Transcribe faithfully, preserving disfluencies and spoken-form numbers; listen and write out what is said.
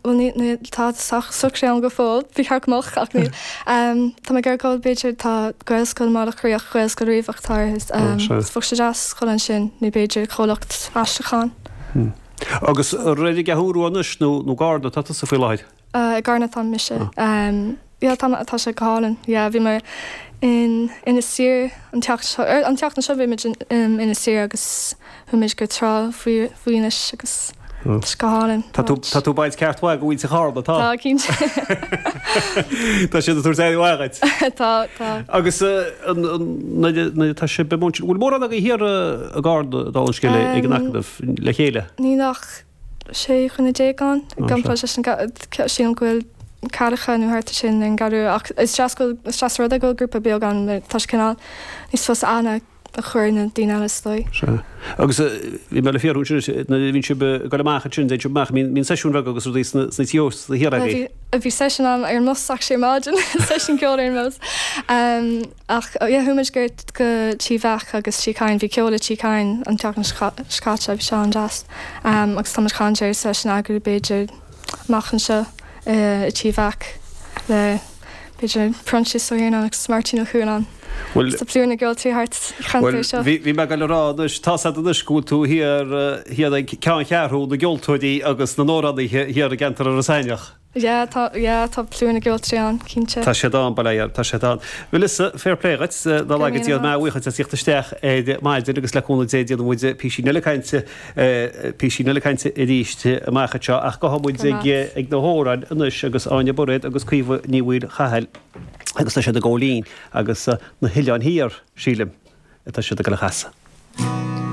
Bhuel ní ní tá socraithe agam go fóill, bhí ceart go mbeadh ach níl. Tá mé ag iarraidh dul b'fhéidir tá Gaelscoil i mBaile Locha Riach, Gaelscoil Riabhach atá ar is bheadh sé deas dul ansin nó b'fhéidir comhlacht aistriúcháin. Agus ar an gCeathrú Rua anois nó nó i gCarna atá tusa faoi láthair? I gCarna atá mise. Yeah tá tá sé go hálainn. Yeah bhí mé in Inis Oírr an tseachtain seo an tseachtain seo bhí muid in Inis Oírr agus chuaigh muid go trá faoi faoi Inis agus tá sé go hálainn. Tá tú tá tú ag baint ceart mhaith de mhuintir Charna, tá? Tá cinnte. Tá siad ag tabhairt aire mhaith dhuit. Tá tá. Agus an nuair nuair atá sibh i mbun sin, bhfuil mórán agaibh thiar i gCarna dála an scéil ag an Acadamh le chéile? Níl ach sé dhuine déag ann. Gan sé sin sílim go bhfuil ceathracha nó thart ar sin ar an gCeathrú ach is deas go is deas rud é go bhfuil grúpa beag ann tá sé cineál níos fusa aithne a chur ar na daoine eile is dóigh. Sea. Agus bhí mé le fiafraí ansin nuair a bhíonn sibh ag dul amach ansin, téann sibh amach, mbíonn seisiúin bheaga agus rudaí sna sna tí ósta thiar agaibh? Bhí bhí seisiún ann ar an mbus actually ar maidin, seisiún ceoil ar an mbus. Ach yeah chuaigh muid go go Tí Mheach agus Tí Chadhain, bhí ceol i Tí Chadhain an tseachtain seo caite, bhí sé an-deas. Agus tá muid ag caint ar seisiún a eagrú b'fhéidir amach anseo i Tí Mheach le b'fhéidir Proinsias Ó hIarnáin agus Máirtín Ó Cualáin. Bhuel Tá plúr na gceoltóirí thart sa cheantar seo. Bhí bhí mé ag dul a rá anois, tá's agat anois go bhfuil tú thiar thiar ag ceanncheathrú na gceoltóirí agus na n-amhránaithe thiar i gceantar Iorras Aithneach. Yeah tá yeah tá plúr na gceoltóirí ann, cinnte. Tá siad ann, bail ó Dhia orthu, tá siad ann. Melissa, fair play dhuit, dá laghad Dia mé a bhuíochas as theacht isteach ar maidin agus le cúnamh Dé déanfaidh muid písín eile cainte, písín eile cainte arís amach anseo ach gabhfaidh muid ag ag na hamhráin anois agus Áine Bairéad agus Caoimhe Ní Mhaolchathail agus tá siad ag gabháil fhoinn agus na hOileáin Thiar, sílim, atá siad ag dul a chasadh.